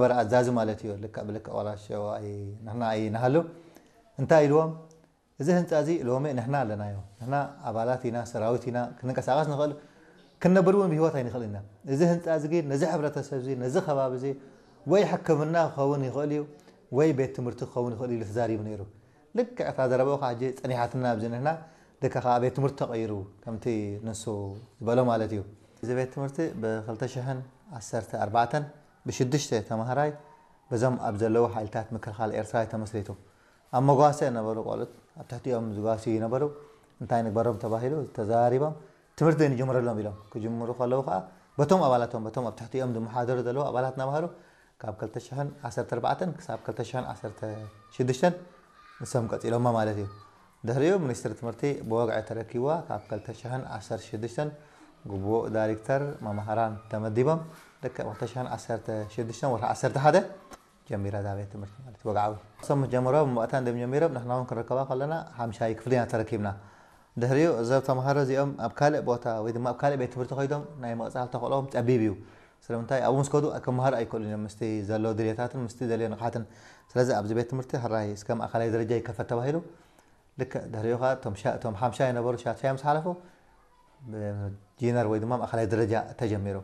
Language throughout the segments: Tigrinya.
በር ኣዛዚ ማለት እዩ። ልክዕ ብልክዕ ዋላ ሸው ኣይ-፣ ንሕና ኣይንሃሉ። እንታይ ኢልዎም? እዚ ህንፃ እዚ ሎሚ ንሕና ኣለናዮ። ንሕና ኣባላት ኢና፣ ሰራዊት ኢና፣ ክንንቀሳቐስ ንኽእል፣ ክንነብር እውን ብህይወት ኣይንኽእል ኢና። እዚ ህንፃ እዚ ግን ነዚ ሕብረተሰብ እዚ፣ ነዚ ከባቢ እዚ ወይ ሕክምና ክኸውን ይኽእል እዩ፣ ወይ ቤት ትምህርቲ ክኸውን ይኽእል እዩ ኢሉ ተዛሪቡ ነይሩ። ልክዕ እታ ዘረባኡ ከዓ ሕጂ ጸኒሓትና ኣብዚ ንሕና፣ ደካ ከዓ ቤት ትምህርቲ ተቐይሩ፣ ከምቲ ንሱ ዝበሎ ማለት እዩ። እዚ ቤት ትምህርቲ ብ2014 ብሽዱሽተ ተማሃራይ በዞም ኣብ ዘለዉ ሓይልታት ምክልኻል ኤርትራ እዩ ተመስሪቱ። ኣብ መጓሰ ነበሩ ቆልዑት፣ ኣብ ትሕቲኦም ዝጓስዩ ነበሩ። እንታይ ንግበሮም ተባሂሉ ተዘራሪቦም፣ ትምህርቲ ንጅምረሎም ኢሎም። ክጅምሩ ከለዉ ከዓ በቶም ኣባላቶም፣ በቶም ኣብ ትሕቲኦም ዝመሓደሩ ዘለዉ ኣባላት ናምሃሩ ካብ 2014 ክሳብ 2016 ንሶም ቀጺሎማ ማለት እዩ። ድሕሪኡ ሚኒስትሪ ትምህርቲ ብወግዒ ተረኪብዋ ካብ 2016 ግቡእ ዳይሬክተር መማህራን ተመዲቦም ልክዕ 2016 ወርሒ 11 ጀሚራ እዛ ቤት ትምህርቲ ማለት እዩ። ወግዓዊ እሶም ምስ ጀመርዋ ብመእታ እንደም ጀሚሮም ንሕና እውን ክንርከባ ከለና ሓምሻይ ክፍሊ ኢና ተረኪብና። ድሕሪኡ እዞም ተምሃሮ እዚኦም ኣብ ካልእ ቦታ ወይ ድማ ኣብ ካልእ ቤት ትምህርቲ ከይዶም ናይ መቕጻል ተኽእሎም ጸቢብ እዩ። ስለምንታይ ኣብኡ ምስ ከዱ ክመሃሩ ኣይክእሉን እዮም ምስቲ ዘሎ ድልየታትን ምስቲ ዘልዮ ንቕሓትን። ስለዚ ኣብዚ ቤት ትምህርቲ ሕራይ እስከ ማእኸላይ ደረጃ ይከፈት ተባሂሉ። ልክዕ ድሕሪኡ ከዓ እቶም ሻ-፣ እቶም ሓምሻይ የነበሩ ሻድሻይ ምስ ሓለፉ ብጂነር ወይ ድማ ማእኸላይ ደረጃ ተጀሚሩ።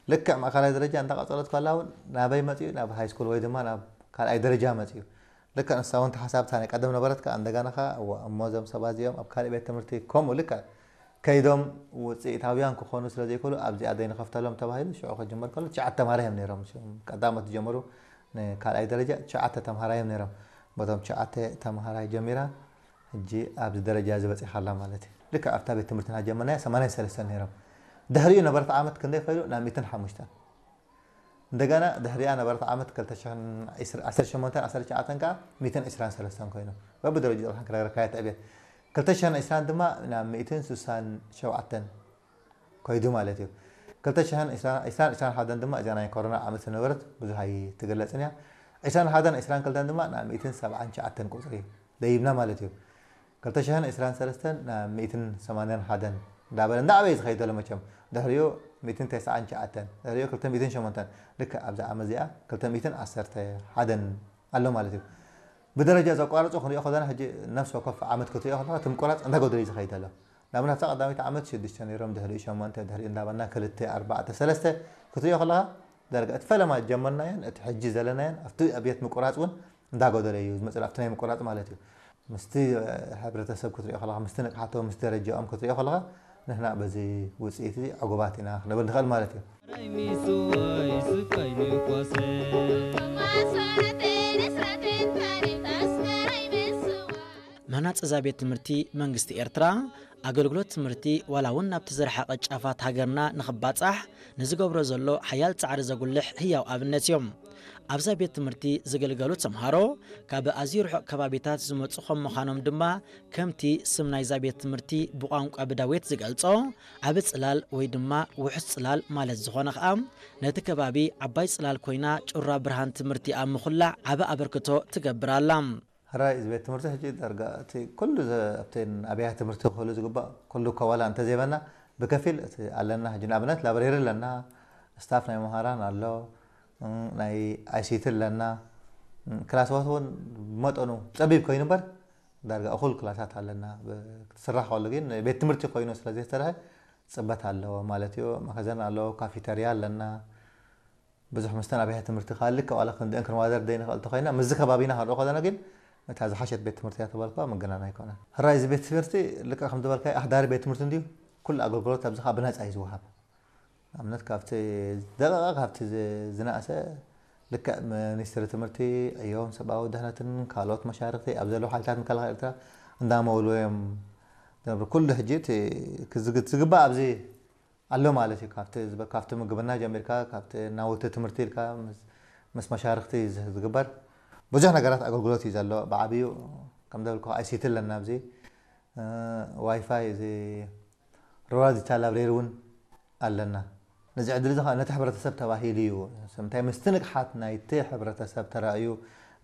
ልክዕ ማእኸላይ ደረጃ እንዳቐጸለት ከላ እውን ናበይ መጽኡ? ናብ ሃይ ስኩል ወይ ድማ ናብ ካልኣይ ደረጃ መጽኡ። ልክዕ ንሳ እውን ተሓሳብታ ናይ ቀደም ነበረት ከዓ እንደገና ከዓ እዋ እሞ እዞም ሰባት እዚኦም ኣብ ካልእ ቤት ትምህርቲ ከምኡ ልክዕ ከይዶም ውፅኢታውያን ክኾኑ ስለ ዘይክእሉ ኣብዚኣ ደይ ንኸፍተሎም ተባሂሉ ሽዑ ክጅመር ከሎ ትሽዓተ ተምሃራይ እዮም ነይሮም። እዞም ቀዳሞት ዝጀመሩ ንካልኣይ ደረጃ ትሽዓተ ተምሃራይ እዮም ነይሮም። በቶም ትሽዓተ ተምሃራይ ጀሚራ ሕጂ ኣብዚ ደረጃ እዚ በፂኻ ኣላ ማለት እዩ። ልክዕ ኣብታ ቤት ትምህርትና ጀመርናያ ሰማንያን ሰለስተን ነይሮም። ድሕሪኡ ነበረት ዓመት ክንደይ ኸይዱ ናብ ሚእትን ሓሙሽተን። እንደገና ድሕሪኣ ነበረት ዓመት ክልተ ሽሕን ዓሰርተ ሸሞንተን ዓሰርተ ትሽዓተን ከዓ ሚእትን ዕስራን ሰለስተን ኮይኑ በብደረጃ ጥራሕ ክነግረካያ ትዕብየት። ክልተ ሽሕን ዕስራን ድማ ናብ ሚእትን ስሳን ሸውዓተን ኮይዱ ማለት እዩ። ክልተ ሽሕን ዕስራን ዕስራን ሓደን ድማ እዚኣ ናይ ኮሮና ዓመት ዝነበረት ብዙሕ ኣይትግለጽን እያ። ዕስራን ሓደን ዕስራን ክልተን ድማ ናብ ሚእትን ሰብዓን ትሽዓተን ቁጽሪ ደይብና ማለት እዩ። ክልተ ሽሕን ዕስራን ሰለስተን ናብ ሚእትን ሰማንያን ሓደን እንዳበለ እንዳዓበየ ዝኸይድ ዘሎ መቸም። ድሕሪኡ ሚእትን ተስዓን ትሽዓተን፣ ድሕሪኡ ክልተ ሚእትን ሸሞንተን፣ ልክዕ ኣብዛ ዓመት እዚኣ ክልተ ሚእትን ዓሰርተ ሓደን ኣሎ ማለት እዩ። ብደረጃ ዘቋረጹ ክንሪኦ ከለና ሕጂ ነፍሲ ወከፍ ዓመት ክትሪኦ ከለኻ እቲ ምቁራጽ እንዳጎደለ እዩ ዝኸይድ ዘሎ። ንኣብነት ኣብታ ቀዳመይቲ ዓመት ሽዱሽተ ነይሮም፣ ድሕሪኡ ሸሞንተ፣ ድሕሪኡ እንዳበልና ክልተ፣ ኣርባዕተ፣ ሰለስተ ክትሪኦ ከለኻ ዳርጋ እቲ ፈለማ ጀመርናዮን እቲ ሕጂ ዘለናዮን ኣብቲ ኣብየት ምቁራጽ እውን እንዳጎደለ እዩ ዝመጽእ፣ ኣብቲ ናይ ምቁራጽ ማለት እዩ። ምስቲ ሕብረተሰብ ክትሪኦ ከለኻ፣ ምስቲ ንቕሓቶም፣ ምስቲ ደረጃኦም ክትሪኦ ከለኻ ንሕና በዚ ውጽኢት እዚ ዕጉባት ኢና ክንብል ንኽእል ማለት እዩ። ምህናጽ እዛ ቤት ትምህርቲ መንግስቲ ኤርትራ ኣገልግሎት ትምህርቲ ዋላ እውን ናብቲ ዝረሓቐ ጫፋት ሃገርና ንኽባጻሕ ንዝገብሮ ዘሎ ሓያል ጻዕሪ ዘጉልሕ ህያው ኣብነት እዮም። ኣብዛ ቤት ትምህርቲ ዝግልገሉ ተምሃሮ ካብ ኣዝዩ ርሑቕ ከባቢታት ዝመጹ ከም ምዃኖም ድማ ከምቲ ስም ናይዛ ቤት ትምህርቲ ብቋንቋ ብዳዌት ዝገልጾ ዓቢ ጽላል ወይ ድማ ውሑስ ጽላል ማለት ዝኾነ ኸኣ ነቲ ከባቢ ዓባይ ጽላል ኮይና ጩራ ብርሃን ትምህርቲ ኣብ ምኹላዕ ዓቢ ኣበርክቶ ትገብር ኣላ። ሕራይ እዚ ቤት ትምህርቲ ሕጂ ዳርጋ እቲ ኩሉ ዘ-፣ ኣብተን ኣብያተ ትምህርቲ ክህሉ ዝግባእ ኩሉ ከዋላ እንተዘይበና ብከፊል እቲ ኣለና። ሕጂ ንኣብነት ላብሬሪ ኣለና፣ ስታፍ ናይ መምሃራን ኣሎ፣ እም፣ ናይ ኣይሲቲ ኣለና፣ እም፣ ክላስዋት እውን ብመጠኑ ጸቢብ ኮይኑ እምበር ዳርጋ እኹል ክላሳት ኣለና። ብ-፣ ክትስራሕ ከሎ ግን ቤት ትምህርቲ ኮይኑ ስለ ዘይተሰርሐ ጽበት ኣለዎ ማለት እዩ። መኸዘን ኣለዎ፣ ካፊተርያ ኣለና። ብዙሕ ምስተን ኣብያተ ትምህርቲ ካልእ ዋላ ክንድእን ክንዋደር ደይ ንኽእል ተኾይና ምስዚ ከባቢና ክንርኢ ከለና ግን እታ ዝሓሸት ቤት ትምህርቲ እያ ተባልኳ ምግናን ኣይኮነን። ሕራይ እዚ ቤት ትምህርቲ ልክዕ ከም ዝበልካዮ ኣሕዳሪ ቤት ትምህርቲ እንድዩ ኩሉ ኣገልግሎት ኣብዚ ከዓ ብነፃ እዩ ዝወሃብ። ንኣብነት ካብቲ ደቂቐ ካብቲ ዝ-፣ ዝነኣሰ ልክዕ ሚኒስትሪ ትምህርቲ ዕዮን ሰብኣዊ ድሕነትን ካልኦት መሻርክቲ ኣብ ዘለዉ ሓይልታት ምክልኻል ኤርትራ እንዳመውልዎ እዮም ዝነብሩ። ኩሉ ሕጂ እቲ ክዝግ-፣ ዝግባእ ኣብዚ ኣሎ ማለት እዩ። ካብቲ ዝበ-፣ ካብቲ ምግብና ጀሚርካ ካብቲ ናውቲ ትምህርቲ ኢልካ ምስ፣ ምስ መሻርክቲ ዝ-፣ ዝግበር ብዙሕ ነገራት ኣገልግሎት እዩ ዘሎ። ብዓብዩ ከም ዘበልኩ ኣይሲቲ ኣለና ኣብዚ፣ እ፣ ዋይፋይ እዚ ሩራል ዲጂታል ላብሬሪ እውን ኣለና። ነዚ ዕድል እዚ ከዓ ነቲ ሕብረተሰብ ተባሂሉ እዩ። ስለምንታይ ምስቲ ንቕሓት ናይቲ ሕብረተሰብ ተራእዩ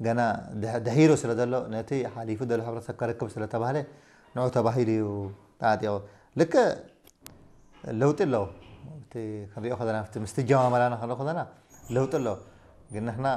ገና ድሕ-፣ ድሒሩ ስለ ዘሎ ነቲ ሓሊፉ ዘሎ ሕብረተሰብ ከረክብ ስለ ተባህለ ንዑ ተባሂሉ እዩ ተዓጢቑ። ልክዕ ለውጢ ኣለዎ። እቲ ክንሪኦ ከለና፣ እቲ ምስቲ ጀማመራና ክንሪኦ ከለና ለውጢ ኣለዎ። ግን ንሕና